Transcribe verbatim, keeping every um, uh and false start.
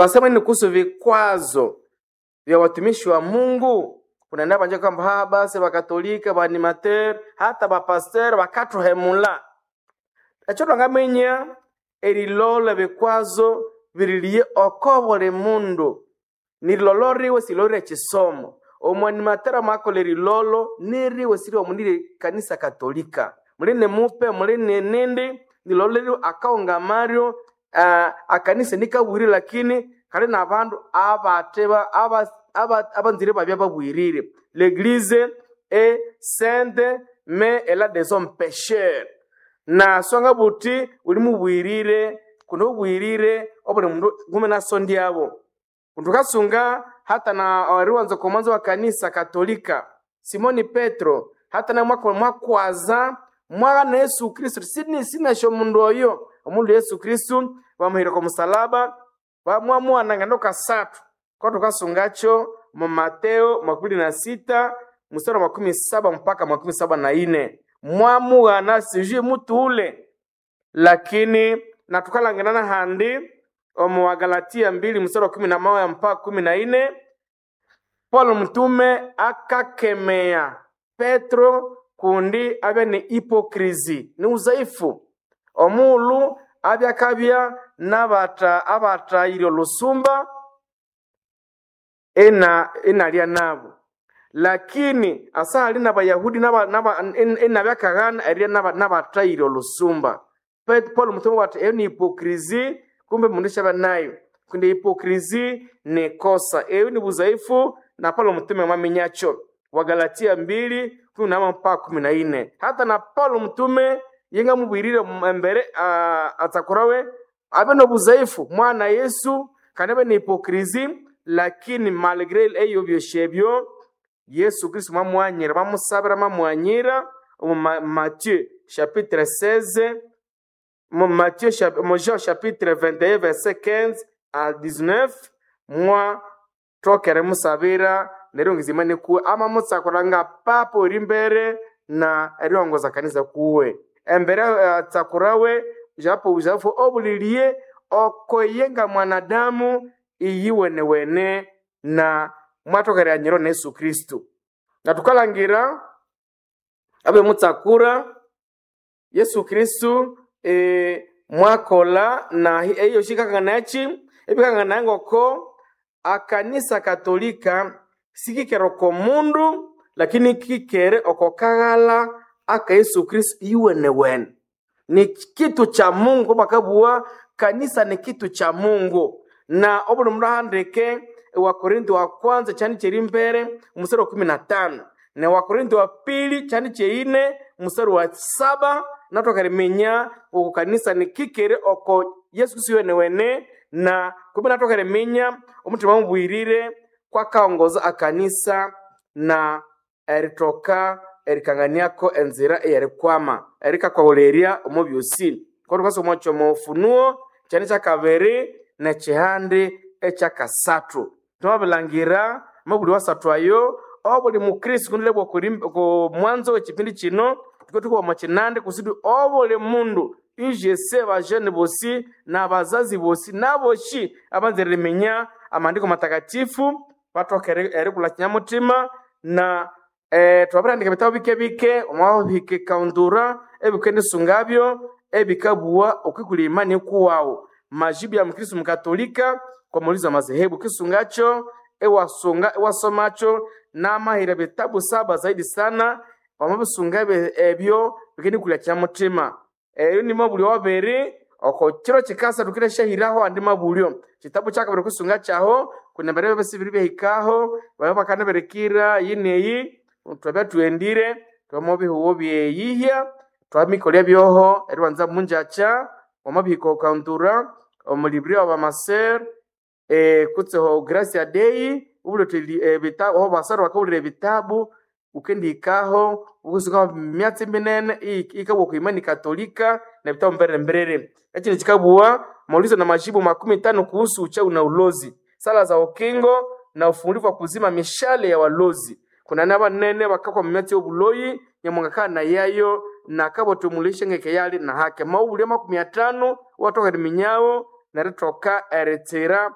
Twasema nini kuhusu vikwazo vya watumishi wa Mungu? Kuna nabanja kwamba ha basi bakatolika baanimateur hata bapasteur bakathuhemula. Ekyo twangaminya erilolha ebikwazo biriliye oko buli mundu nirilolo riwe silolire ekisomo. Omwanimateur amakolha erilolo niriwe siriwe munire kanisa katolika muli mupe muli nindi nilolo riwe akaghungamaryo uh, akanisa nikabwirire lakini kali nabandu abate aba- aba- abanzire babya babwirire. L'église est sainte mais elle a des hommes pécheurs na songa buti uli mubwirire kuno obwirire obuli mundu ngume nasondyabo. Tukasunga hata na eriwanza komwanzo wa kanisa katolika Simoni Petro hata na mwaka mwakwaza mwana Yesu Kristo sini sinasho mundu oyo omundu Yesu Kristo bamuhira ko musalaba bamwamuwana ngando kasatu kwa tukasungacho mu Mateo makumi na sita mstari wa makumi saba mpaka makumi saba na ine mwamughana sijui mutu ule lakini na tukalanganana handi omu Wagalatia mbili mstari wa kumi na moja mpaka kumi na ine Paulo mtume akakemea Petro kundi abya ni hipokrizi ni uzaifu omulu abya akabya nabata abatayire olusumba ena enalya nabo lakini asali n'abayahudi enabyakaghana erirya n'abatayire olusumba. Pet- Paulo mtume wati eyo ni hipokrizi kumbe mundu syaba nayo kundi hipokrizi ni kosa eyo ni buzaifu na Paulo mtume mwaminyakyo. Wagalatia mbili kumi na moja mpaka kumi na ine hata na Paulo mtume yengamubwirire embere uh, atsakurawe abe nobuzaifu mwana Yesu kandi abe ni hipokrizi lakini malgré eyo byosi ebyo Yesu Kristo mwamwanyira bamusabira mwamwanyira omu Ma- Matthieu chapitre seize mu Matthieu chap- mu Jean chapitre vingt et un verset quinze à dix-neuf mwa thokere musabira neryo ngizima nikuwe ama mutsakura nga papa ori mbere na eriongoza kanisa kuwe embere uh, tsakurawe japo uzafu obulilie okoye nga mwanadamu iyiwenewene na mwatokere anyiro na Yesu Kristo na tukalangira abe mutsakura Yesu Kristu e, mwakola na eyo shikakanganachi ebikangana ngoko akanisa katolika sikikere oko mundu lakini kikere oko kaghala aka Yesu Kristu iwenewene ni kitu cha Mungu bakabua kanisa ni kitu cha Mungu na obuli mundu ahandike Wakorintho wa kwanza chani cheri mbere mstari wa kumi na tano na Wakorintho wa pili chani cheine mstari wa saba natwakariminya uku kanisa ni kikere oko Yesu Kristo wenewene na kumbe natwakariminya omutima mubwirire kwakaongoza akanisa na eritoka erikanganiako enzira eyerikwama erikakwahulerya omu byosi kwatukasoma kyomo Ufunuo kyani kyakabiri nekyihandi ekyakasathu twamabilangira amabuli wasathu ayo obuli mukristo kundilebwa ku mwanzo w'ekipindi kino tuke tukuba omu kinandi kusudi obuli mundu ijese bajene bosi n'abazazi bosi n'aboshi abanzire riminya amandiko matakatifu bathoke eri- erikulha kinyamutima na eh, twabirandika ebitabu bike bike omwabihika ekaundura ebikendisungabyo ebikabuwa okwikulya imani kuwawu majibu ya mkristu mkatolika kwa maulizo ya madhehebu kisungacho ewasunga ewasomacho namahira bitabu saba zaidi sana wamabisunga ebe- ebyo bikendikulya kyamutima eyo ni mabulyo wabiri oko kiro kikasa tukire shahiraho andi mabulyo kitabu kyakabiri kusunga kyaho kuna mbere bese biri byahikaho baba bakanaberekira yineyi twabya tuendire twamobihuwo byeyihya twamikolya byoho eriwanza munjacha wamabihika okandura omulibri wa bamaser eh, kutseho gracia dei ubuloteli ebitabu aho basara bakabulira ebitabu ukendihikaho ukusuka myatsi minene ikabwa ku imani katolika na vitabu mbere mberere ekindi kikabua maulizo na majibu makumi tano kuhusu uchawi na ulozi sala za ukingo na ufungulivu wa kuzima mishale ya walozi kuna nabanene bakakwa mumyatsi y'obuloyi nyamunga na yayo nakabotumulishe ngeke yali na hake maubulya makumi atano watoka riminyawo nerithoka eritsira